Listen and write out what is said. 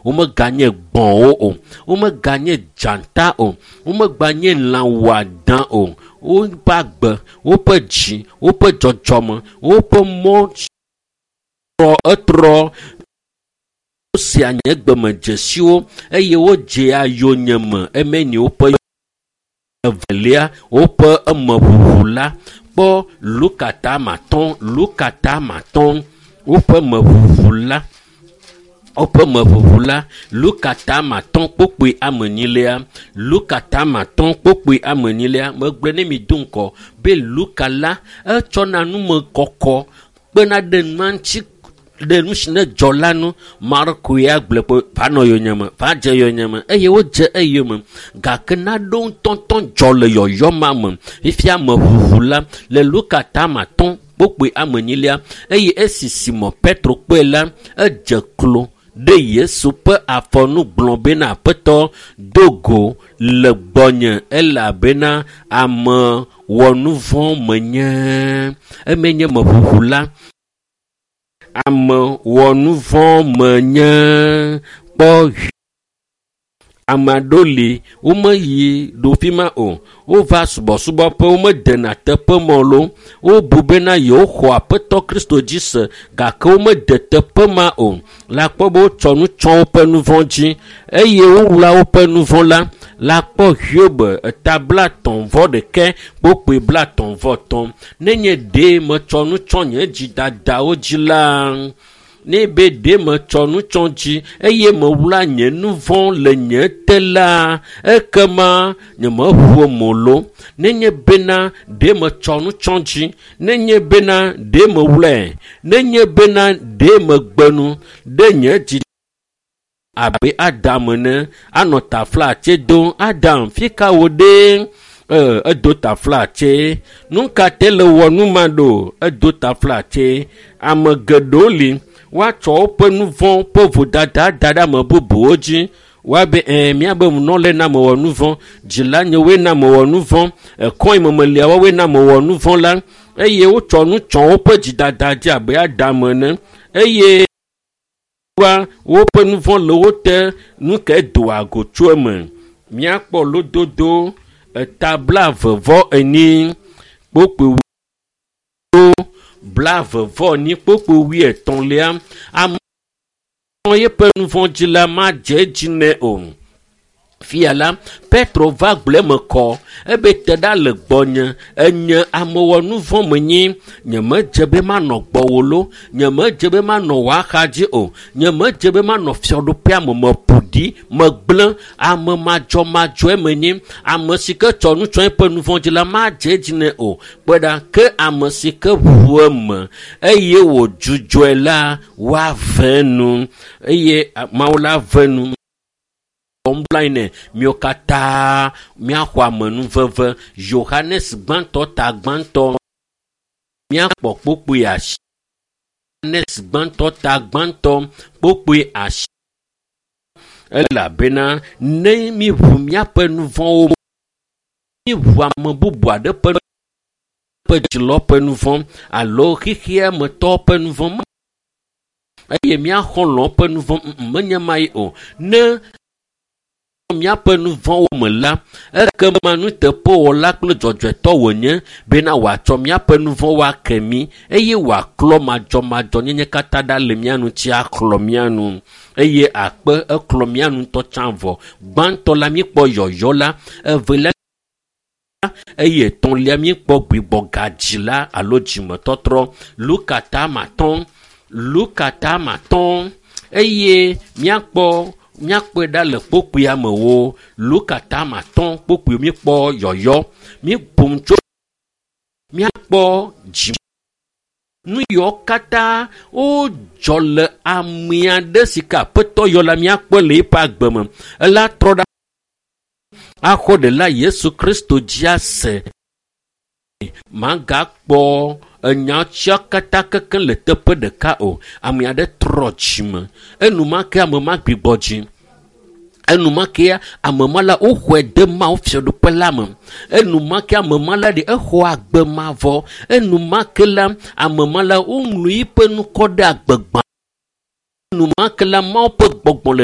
Womeganye gbɔ̃wo o, womeganye dzata o, womeganye lã wɔadã o. Woƒe agbe, woƒe dzi, woƒe dzɔdzɔme, woƒe mɔ trɔ etrɔ. Wosea nye gbemedzesiwo eye wodzea yonyeme emeni woƒe evelia woƒe emeʋuʋu la kpɔ Luka tamatɔ̃ Luka tamatɔ̃ woƒe meʋuʋu la woƒe meʋuʋu la Luka tamatɔ̃ kpokpoe amenyilia Luka tamatɔ̃ kpokpoe amenyilia megblɔ ne mi do ŋkɔ be Luka la etsɔna numekɔkɔ kpena ɖe nua ŋuti ɖe nu si ne dzɔ la nu. Marko ya gblɔ be va nɔ yonyeme, va dze yonyeme eye wodze eyome gake naɖewo ŋutɔŋutɔ dzɔ le yɔyɔ ma me. Fifia meʋuʋu la le Luka tamatɔ̃ kpokpoe amenyilia eye esi Simɔ Petro kpɔe la edze klo ɖe Yesu ƒe afɔnu gblɔ bena aƒetɔ do go le gbɔnye elabena ame wɔnuvɔ̃ menye. Eme nye meʋuʋu la. Ame wɔnuvɔ̃ menye kpɔ ame aɖewo li womeyi ɖo fi ma o. Wova subɔsubɔƒe womedena teƒe ma o loo. Wobu bena yewoxɔ aƒetɔ Kristo dzi se gake womede teƒe ma o. Le akpɔ be wotsɔ nu tsɔ woƒe nu vɔ̃ dzi eye wowla woƒe nu vɔ̃ la. Le akpɔ Hiob eta blatɔ̃ vɔ ɖeke kpokpoe blatɔ̃ vɔ tɔ̃. Nenye ɖe metsɔ nu tsɔ nye dzidadawo dzi la, ne be ɖe metsɔ nu tsɔ dzi eye mewla nye nu vɔ̃ le nye te la, ekema nyemeʋu mo lo. Nenye bena ɖe metsɔ nu tsɔ dzi, nenye bena ɖe mewlae, nenye bena ɖe megbe nu ɖe nye dzi abe Adam ene anɔ taflatse dom. Adam, fi ka wò ɖe? Edo taflatse. Nu ka te le wɔ nu ma ɖo? Edo taflatse. Ame geɖewo li woatsɔ woƒe nu vɔ̃ ƒe vodada da ɖe ame bubuwo dzi. Woabe míabe nunɔlae na mewɔ nu vɔ̃, dzila nyewoe na mewɔ nu vɔ̃, ekɔe memelia woawoe na mewɔ nu vɔ̃ la eye wotsɔ nu tsɔ woƒe dzidada dzi abe Adam ene eye wa woƒe nu vɔ̃ le wo te nu ke doa go tso eme. Míakpɔ lododo eta 22 kpokpoe 22 kpokpoe wuietɔ̃lia. Ame yeƒe nu vɔ̃ dzi la madze edzi nɛ o. Fia la, Petro va gblɔ eme kɔ ebe te ɖa le gbɔnye enye amewɔnuvɔ̃ menye nyemedze be manɔ gbɔwò lo nyemedze be manɔ wò axa dzi o nyemedze be manɔ fiaɖuƒea me meƒo ɖi megblẽ ame madzɔmadzɔe menye ame si ke tsɔ nu tsɔ eƒe nu vɔ̃ dzi la madze edzi nɛ o kpɔe ɖa ke ame si ke ʋu eme eye wòdzudzɔe la woave nu eye Mawu la ve nu. Ɔmblaine miwo katã míaxɔ amenuveve Yohanes gbãtɔ ta gbãtɔ míakpɔ kpokpoe asi. Yohanes gbãtɔ ta gbãtɔ kpokpoe asi. Elabena ne míʋu míaƒe nu vɔ̃wo míʋu ame bubu aɖe ƒe dzilɔ ƒe nu vɔ̃ alo xexea me tɔwo ƒe nu vɔ̃ eye míaxɔlɔ̃ ƒe nu vɔ̃ menye ma ye o. Ne míaƒe nu vɔ̃wo me la, ekema nuteƒewɔla kple dzɔdzɔetɔ wònye bena wòatsɔ míaƒe nu vɔ̃wo ake mí eye wòaklɔ madzɔmadzɔnyenye katã ɖa le mía ŋuti aklɔ mía nu eye akpe eklɔ mía nu ŋutɔ tsã vɔ. Gbãtɔ la míekpɔ yɔyɔ la, evelia eye etɔ̃lia míekpɔ gbigbɔgadzi la alo dzimetɔtrɔ. Luka tamatɔ̃ Luka tamatɔ̃ eye míakpɔ míakpɔe ɖa le kpokpoea me wo. Luka tamatɔ̃ kpokpoe míekpɔ yɔyɔ míeƒo nu tso míakpɔ dzi nu yiwo katã wodzɔ le ame aɖe si ke aƒetɔ yɔ la míakpɔe le eƒe agbe me. Ela trɔ ɖa axɔ ɖela Yesu Kristo dzi ase. Magakpɔ enya tsia katã kekeŋ le teƒe ɖeka o. Ame aɖe trɔ dzime enumake ame ma gbigbɔ dzi. Enumake ame ma la woxɔe de Mawu fiaɖuƒe la me. Enumake ame ma la ɖe exɔ agbe mavɔ. Enumake la ame ma la woŋlɔ eƒe ŋkɔ ɖe agbegbã. Enumake la Mawu ƒe gbɔgbɔ le